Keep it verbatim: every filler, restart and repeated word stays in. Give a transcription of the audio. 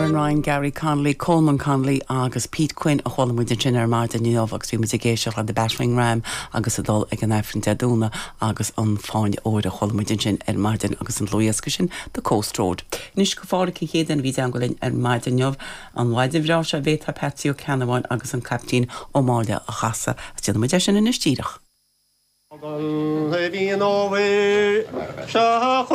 Aaron Ryan, Gary Connolly, Coleman Connolly agus Pete Quinn a chuala muid ansin ar maidin inniu agus bhí muid ag éisteacht le The Battering Ram agus ag dul ag an Aifreann Dé Domhnaigh agus an Fáinne Óir a chuala muid ansin ar maidin agus an dlúthdhiosca sin The Coast Road. Anois go Phádraig an chéad duine a bhí i dteagmháil linn ar maidin inniu an mhaidin bhreá seo bhéta Patsy Ó Ceannabháin agus an Caiptín Ó Máille a chasadh is déanfaidh muid é sin anois díreach. Bhí an ábhar se